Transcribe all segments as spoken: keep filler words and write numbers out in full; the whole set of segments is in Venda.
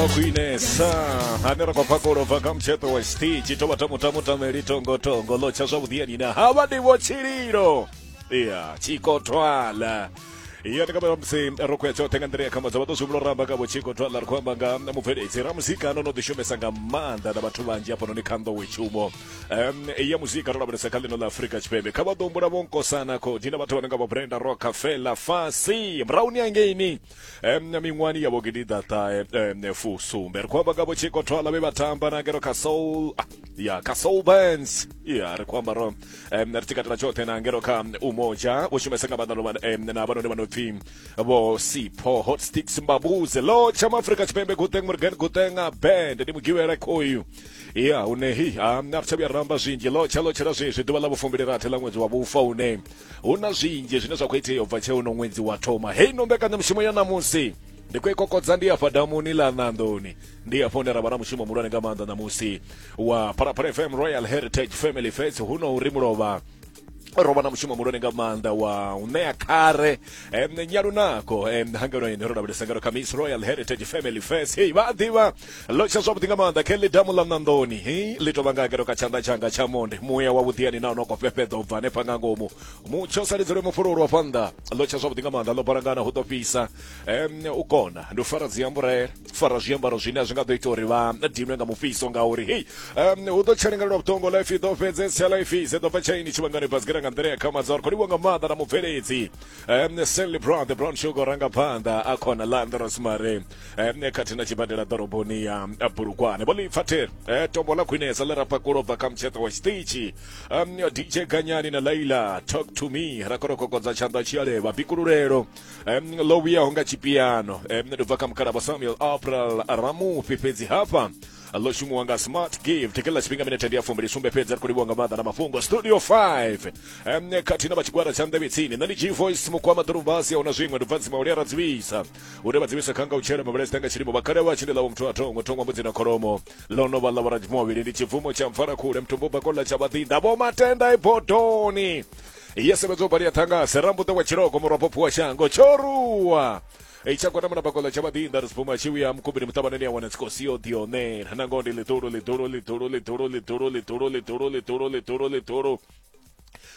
Khwinesa ane ra khou pfa kolobva kha mutsheṱo wa tshiṱitshi tovha tamutamutameli tongotongo ḽo tsha zwavhuḓi yani na havha ndi vho tshililo ya tshikotwala ya ndi nga musi ro khou ya tshoṱhe nga nḓila ya khamadza vha ḓo zwi humbula ramba nga vho tshikotwala ri khou amba nga mubveledzi ra muzika no no ḓi shumesa nga maanḓa na vhathu vhanzhi hafhanoni kha nḓowetshumo um ya muzika ro lavhelesa kha ḽino ḽa Afrika Tshipembe kha vha ḓo humbula vho Nkosana Khodi na vhathu vha no nga vho Brenda Rockefeller Fasi Brown angeini um miṅwahani ya vho gidiḓaṱahe fusumbe ri khou amba nga vho tshikotwala vhe vha tamba na ngeno kha soul ya kha soul bands ya ri khou amba ro um ri tshi katela tshoṱhe na ngeno kha umoja vho shumesa nga maanḓa um na vhanoni vha no pfi vho Sipho Hot Sticks Mbabuze lo tsha Afrika Tshipembe Guteng Morgan Guteng band ndi mugivhela khoyu ya une hi a ri tsha vhuya ramba zwinzhi lo tsha lo tshela zwezwi ḓuvha ḽa vhufumbili rathi ḽa ṅwedzi wa vhufa une hu na zwinzhi zwine zwa khou itea u bva tsheo no ṅwedzi wa thoma hei no mbekanyamushumo ya ṋamusi ndi khou i kokodza ndi afha damuni ḽa Nandoni ndi afho hune ra vha na mushumo muhulwane nga maanḓa ṋamusi wa Phalaphala F M Royal Heritage Family Fest hu no uri mulovha ro vha na mushumo muhulwane nga maanḓa wa u ṋea khare um, nyalunako um, hangeno ine ro lavhelesa ngalo kha Miss Royal Heritage Family Fest hei vha a ḓivha ḽo tsha zwavhuḓi nga maanḓa khe ḽi damu ḽa Nandoni hei ḽi tovha nga ngeno kha tshanḓa tshanga tsha monde muya wa vhuḓiani na no khou fhefheḓa u bva hanefha nga ngomu mutsho sa lidzelwe mufhululwa fhannḓa ḽo tsha zwavhuḓi nga maanḓa ḽo balangana hu ḓo fhisa um, u kona ndi u fara dziamburela fara zwiambaro zwine a zwi nga ḓo ita uri vha dinwe nga mufhiso ngauri hei um, hu ḓo tshelengelwa vhuṱongo life i ḓo fhedzesa life i ḓo bva tshaini tshivhangani basikela nga nḓila ya khamadza ri khou livhuwa nga maanḓa na mubveledzi um, Sally Brown the Brown Sugar ranga phanḓa a khona Landros Mare um, khathihi na tshibadela ḓoroboni ya Bulugwane vho ḽipfa the eh, tombo ḽa khwinesa ḽe ra pakulwa bva kha mutsheṱo wa tshiṱitshi um, D J Ganyani na Laila Talk to Me ra khou kokodza tshanḓa tshialevha bikululelo um, ḽo vhuyaho nga tshipiano um, ndi bva kha mukhala Samuel April Ramufhi fhedzi hafha ḽo shumiwa nga Smart Gift kha tshifhinga minete ndi ya fumbili sumbe fhedzi ri khou livhuwa nga maanḓa na mafhungo Studio five um, khathihi na vha tshigwada tsha nḓevhe tsini nṋe ndi G Voice Mukwama Ḓurumbasi ahuna zwiṅwe ndi bva Ntsima ra dzivhisa une vha dzivhisa kha nga u tshela mavhele nga tshilimo vhakale vha tshinde ḽavho muthu a thongo thongwa mbudzi na kholomo ḽo no vha ḽa vhoradzimu ndi tshibvumo tsha mfarakhule mutumbu bakola tsha vhaḓinḓa vho matenda ibodoni yesevhedzo bali ya thangase rambuḓo wa tshiloko murwa wa shango tshoruwa Ichakwana muna bakola tsha vhaḓinḓa ri sibuma tshi vhuya mukubini muṱavhaneni ya wana tsikosi yo ḓionela nangoho ndi ḽiṱulu ḽiṱulu ḽiṱulu ḽiṱulu ḽiṱulu ḽiṱulu ḽiṱulu ḽiṱulu ḽiṱulu ḽiṱulu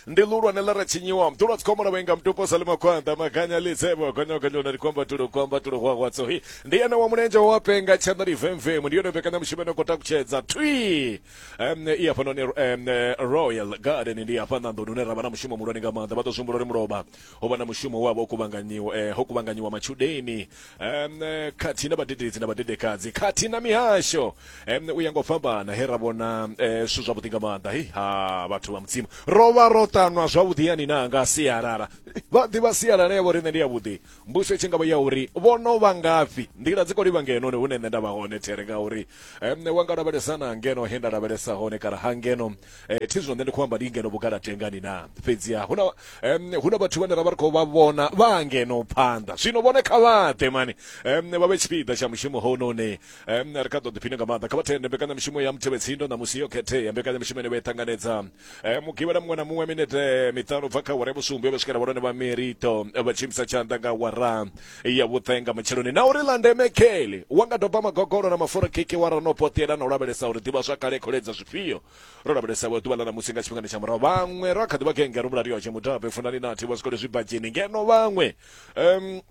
ndi ḽulwane ḽa ra tshinyiwa mḓulwa dzikhombo na vhainga mutupo sa ḽimakhwanḓa maganya ḽitsebo gonyogonyona ri kwamba tulo kwamba tulo hwahwatso hi ndi ene wa mulenzhe wa penga tshanḓa ndi vemvemu ndi yone mbekanyamushumo ino khou takutshedza thwi um, i hafhanoni um, Royal Garden ndi hafha Nandoni hune ra vha na mushumo muhulwane nga maanḓa vha ḓo zwi humbula uri mulovha ho vha na mushumo wavho ho kuvhanganyiwa eh, ho kuvhanganyiwa matshudeni um, khathihi na vhadededzi na vhadedekadzi khathihi na mihasho um, u ya nga u fhambana he ra vhona eh, zwithu zwavhuḓi nga maanḓa hi ha vhathu vha mudzimu ro vha ro ṱanwa zwavhuḓi yani na nga sialala vha ḓivha sialala yavho riṋe ndi yavhuḓi mbuso i tshi nga vha ya uri vho no vha ngafhi nḓila dzi khou livha ngeno hune nṋe nda vha hone there ngauri um, wa nga lavhelesa na ngeno he nda lavhelesa hone kana ha ngeno eh, thi zwino nṋe ndi khou amba ndi ngeno vhugalatengani na fhedziha huna um, huna vhathu vhane ra vha ri khou vha vhona vha ngeno phanḓa zwino vhone kha vha ḓe mani um, vha vhe tshipiḓa tsha mushumo hounoni um, ri kha ḓo ḓiphina nga maanḓa kha vha thende mbekanyamushumo ya Mutevhetsindo ṋamusi yo khethea mbekanyamushumo ine vha i ṱanganedza um, mugivhela muṅwe na muṅwe minete miṱanu bva kha wara ya vhusumbe vha swikela vhalwane vha merito vha tshimisa tshanḓa nga wara ya vhuṱenga matsheloni na uri ḽa ndeme kheli wa nga doba magogolo na mafura khekhe wa ra no poṱela na u lavhelesa uri ḓivha zwa kale kholedza zwifhio ro lavhelesa vho ḓuvha ḽa ṋamusi nga tshifhingani tsha murahu vhaṅwe ra kha ḓivha genge ro mulario tshe mutabe funani nathi vha swikole zwibadzheni ngeno vhaṅwe um,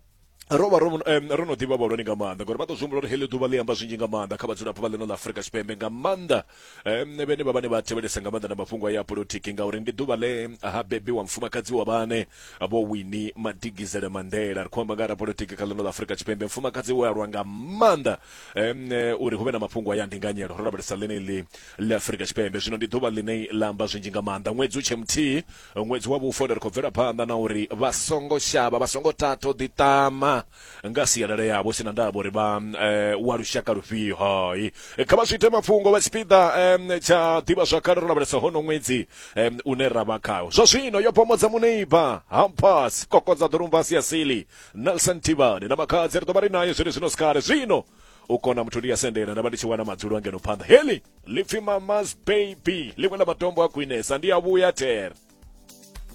ro vha ro ro no ḓivha vhahulwane nga maanḓa ngori vha ḓo zwi humbula uri heḽi ḓuvha ḽi amba zwinzhi nga maanḓa kha vhadzulapo vha ḽino ḽa Afrika Tshipembe nga maanḓa um, vhene vha vhane vha thevhelesa nga maanḓa na mafhungo ya polotiki ngauri ndi ḓuvha ḽe ha bebiwa mufumakadzi wa vhane vho Winnie Madikizela Mandela ri khou amba nga ra polotiki kha ḽino ḽa Afrika Tshipembe mufumakadzi we a lwa nga maanḓa um, uri hu vhe na mafhungo ya ndinganyelo ro lavhelesa ḽeneḽi ḽa Afrika Tshipembe zwino ndi ḓuvha ḽine ḽa amba zwinzhi nga maanḓa ṅwedzi u tshe muthihi ṅwedzi wa vhufa ri khou bvela phanḓa na uri vha songo shavha vha songo tata u ḓiṱama nga sialala yavho sina ndavha uri vha eh, wa lushaka lufhio hai kha vha zwi ite mafhungo vha tshipiḓa um, tsha ḓivha zwakale ro lavhelesa hono ṅwedzi um, une ra vha khawo zwa zwino yo pomodza muneiba Hampas kokodza ḓurumbasi ya sili Nelson Tivani na makhadzi ri ḓo vha ri naye zwine zwino sikale zwino u kona muthu ndi ya sendela nda vha ndi tshi wana madzulo angeno phanḓa heli ḽipfi Mama's Baby ḽiṅwe ḽa matombo a khwinesa ndi a vhuya there.